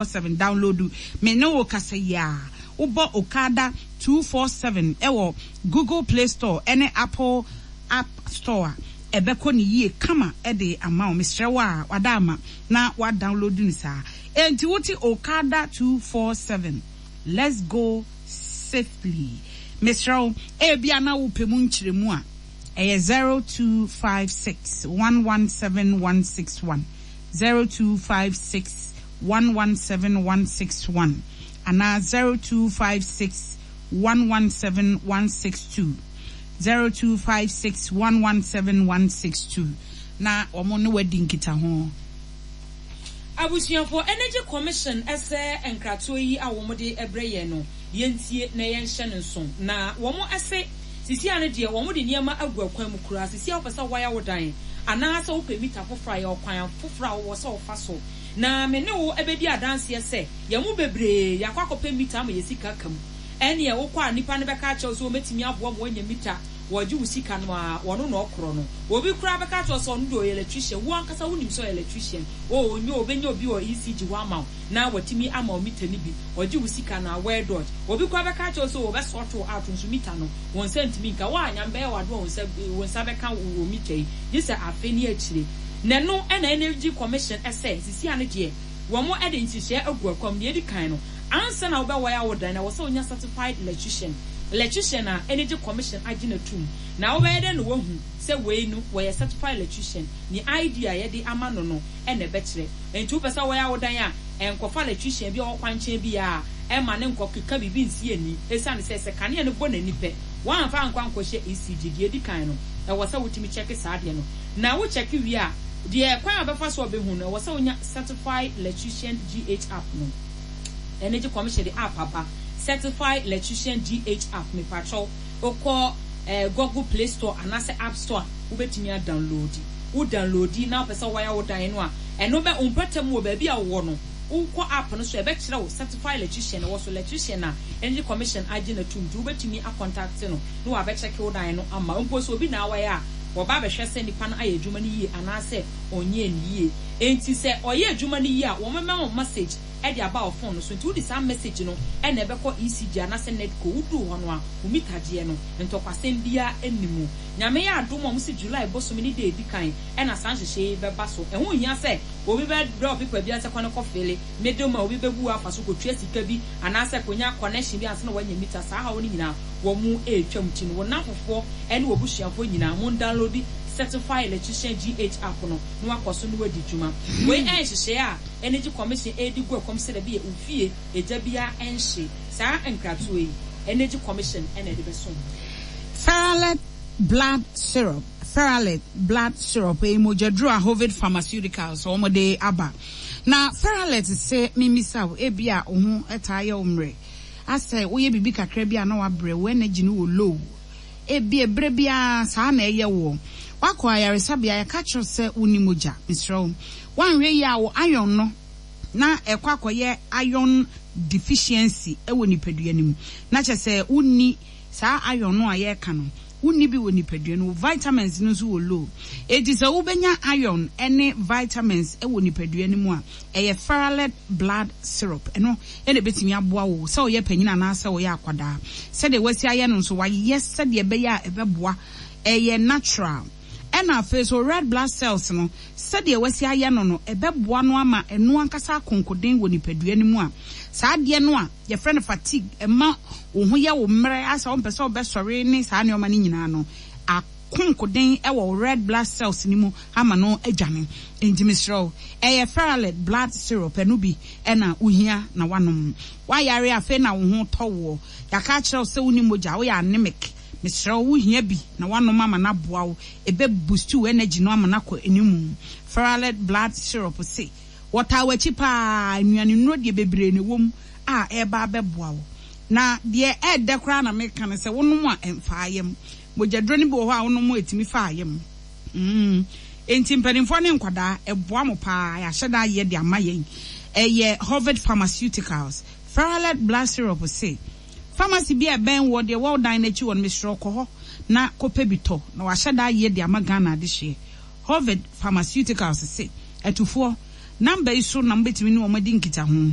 7 downloadu Me ne wo kasa yi a, wobɔ Okada 247 wɔ Google Play Store ne Apple App Store a, ɛbɛkɔ no yie kama de ama wo. Mesrɛ wo a, wada ama na woadownloadu no saa. Enti wote Okada 247, let's go safely. Mesrɛ wo, ebia na wopɛ mu nkyerɛmu a, ɛyɛ 0256 117 161. 0256 117 161 anaa 0256 117 162, 0256 117 162, na wɔn ne wo adi nkitaho. Abusuafoɔ, Energy Commission sɛ nkratoɔ yi a wɔn de brɛ yɛn no yɛntie na yɛnhyɛ no nso. Na wɔn se sisi ano deɛ wɔn de nneɛma agu akwan mu koraa. Sisi a wopɛ sɛ wowaya wo dan anaa sɛ wopɛ mita foforɔ a, yɛ ɔkwan foforɔ a wowɔ sɛ wofa so. Na me ne wo bɛdi adanseɛ sɛ yɛn mu bebree yɛakɔ akɔpɛ mita ama yɛn sika aka mu. Ɛnneɛ wokɔ a nnipa no bɛka akyerɛ wo sɛ wɔbɛtumi aboa ma woanya mita, wɔregye wo sika no ara, wɔno na ɔkorɔ no. Obi koraa bɛka akyerɛ wo sɛ ɔno deɛ ɔyɛ electrician, wo ankasa wonim sɛ ɔyɛ electrician. Oh, ɔnyɛ o, ɔbɛnya obi wɔ ECG hɔ ama wo na watumi ama wo mita no bi, ɔgye wo sika no ara, well dodge. Obi koraa bɛka akyerɛ wo sɛ ɔbɛsort wo out nso mita no, wo nsa ntumi nka. Wo a Nyame bɛyɛ wo adom a wo nsa wo nsa bɛka wo mita yi, gye sɛ afe ne akyire. Na ɛno na Energy Commission sɛ sisi ano deɛ wɔn de nhyehyɛɛ agu akwam. Deɛ edi kan no, ansa na wobɛwae wo dan no, ɛwɔ sɛ wonya certified electrician, electrician a Energy Commission agye no atum. Na wobɛyɛ dɛn na woahu sɛ wei no wɔyɛ certified electrician? Ne ID a yɛde ama no no na ɛbɛkyerɛ. Enti wopɛ sɛ wowaya wo dan a, nkɔfa electrician bi a ɔwɔ kwankyɛn bi a ɛmma no nkɔkeka biribi nsi ani. Esiane sɛ sɛ kanea no bɔ n'ani pɛ, wamfa ankɔ ankɔhyɛ ECG. Deɛ edi kan no, ɛwɔ sɛ wotumi kyɛke saa adeɛ no. Na wo kyɛke wie a, deɛ kwan a wobɛfa so a wobɛhu no, ɛwɔ sɛ wonya Certified Electrician GH app no. Energy Commission de app aba, Certified Electrician GH app. Mepakyɛw, wokɔ eh, Google Play Store anaasɛ App Store a, wobɛtumi adownloadi. Wo downloadi na wopɛ sɛ wowaya wo dan no a, ɛno bɛ, wo mpɔtam wɔ baabi a wowɔ no, wokɔ app no so a, ɛbɛkyerɛ wo Certified Electrician ɛwɔ so, electrician a Energy Commission agye no atum, nti wobɛtumi akɔntakte no na wabɛkyɛke wo dan no ama wo. Mpo sɛ obi na awaya a, wɔba abɛhwɛ sɛ nipa no ayɛ adwuma no yie anaasɛ ɔnyɛɛ no yie. Enti sɛ ɔyɛ adwuma no yie a, wɔbɛma wo message de aba wo phone no so. Nti wode saa message no na ɛbɛkɔ ECG anaasɛ NEDCO. Woduu hɔ no a, wo mitagyeɛ no, ntɔkwasɛm biara nni mu. Nyame yɛ adom a, wɔse July bosome ne da a ɛdi kan na saa nhyehyɛeɛ yi bɛba so. Ɛho nhia sɛ obi bɛbrɛ wo paper biara sɛ kɔ ne kɔ fele, middle man, obi bɛbu wo afa so kɔtua sika bi anaasɛ kɔnya connection bi ansa na woanya mita. Saa haw no nyinaa wɔretwam nti no, wo nnamfofoɔ ne w'abusuafoɔ nyinaa, mondownloadi Certified Electrician GH app no na woakɔ so ne woadi dwuma. Wei yɛ nhyehyɛeɛ a Energy Commission redi gu ɛkɔm sɛdeɛ ɛbɛyɛ wo fie egya biara nhye. Saa nkratoɔ yi, Energy Commission na ɛde bɛsom wo. Ferralet Blood Syrup, Ferralet Blood Syrup ɛyɛ mogyaduro a Hovid Pharmaceuticals wɔn de aba. Na Ferralet se memmisa wo, ebia wo ho taa yɛ wo mmerɛ, asɛ woyɛ biribi kakra bi a na wabrɛ, wo energy no wɔ low. Ebia berɛ biara saa na ɛyɛ woɔ. Woakɔ ayaresabea, yɛka kyerɛ wo sɛ wonni mogya. Mesrɛ wo, woanhwɛ yie a wo iron no na ɛkɔ akɔyɛ iron deficiency wɔ nipadua no mu. Na kyerɛ sɛ wonni saa iron no a yɛreka no, wonni bi wɔ nipadua no mu. Wo vitamins no nso wɔ low. Enti sɛ wobɛnya iron ne vitamins wɔ nipadua no mu a, Ɛyɛ Ferralet Blood Syrup. Ɛno na ɛbɛtumi aboa wo sɛ woyɛ panyin anaasɛ woyɛ akwadaa. Sɛdeɛ wɔasi ayɛ no nso, wɔayɛ sɛdeɛ ɛbɛyɛ a ɛbɛboa. Ɛyɛ natural. Ɛna afei nso, red blood cells no, sɛdeɛ wɔasi ayɛ no no, ɛbɛboa no ama ɛno ankasa akonkoden wɔ nipadua no mu a, saa adeɛ no a yɛfrɛ no fatigue, ɛma wo ho yɛ wo mmerɛ, asɛ wompɛ sɛ wobɛsɔre ne saa nneɛma no nyinaa no, akonkoden wɔ wo red blood cells no mu ama no adwane. Enti mesrɛ wo, ɛyɛ Ferralet blood syrup, ɛno bi na wohia na woanom. Woayare afei na wo ho retɔ woɔ, yɛaka akyerɛ wo sɛ wonni mogya, woyɛ anemic, mesrɛ wo wohia bi na woanom ama no aboa wo, ɛbɛ boost wo energy no ama no akɔ anim. Ferralet blood syrup se, wɔtaa w'akyi paa, nnuane nnuro deɛ bebree na ɛwɔ mu a ɛreba abɛboa wo. Na deɛ ɛɛdɛ koraa na meka ne sɛ wonom a ɛmfaa yam. Mogyaduro no bi wɔ hɔ a wonom a ɛtumi fa yam. Mm. Enti mpanimfoɔ ne nkwadaa, ɛboa mo paa. Yɛahyɛ da ayɛ de ama yɛn. Ɛyɛ Hovid Pharmaceuticals. Ferralet Blood Syrup se, Pharmacy bi a ɛbɛn woɔ, deɛ ɛwɔ wo dan no akyi hɔ no, mesrɛ wo kɔ hɔ na kɔpɛ bi tɔ. Na wɔahyɛ da ayɛ de ama Ghana adehyeɛ. Hovid Pharmaceuticals se, Atufoɔ, Number yi so na mobɛtumi ne wɔn adi nkitaho.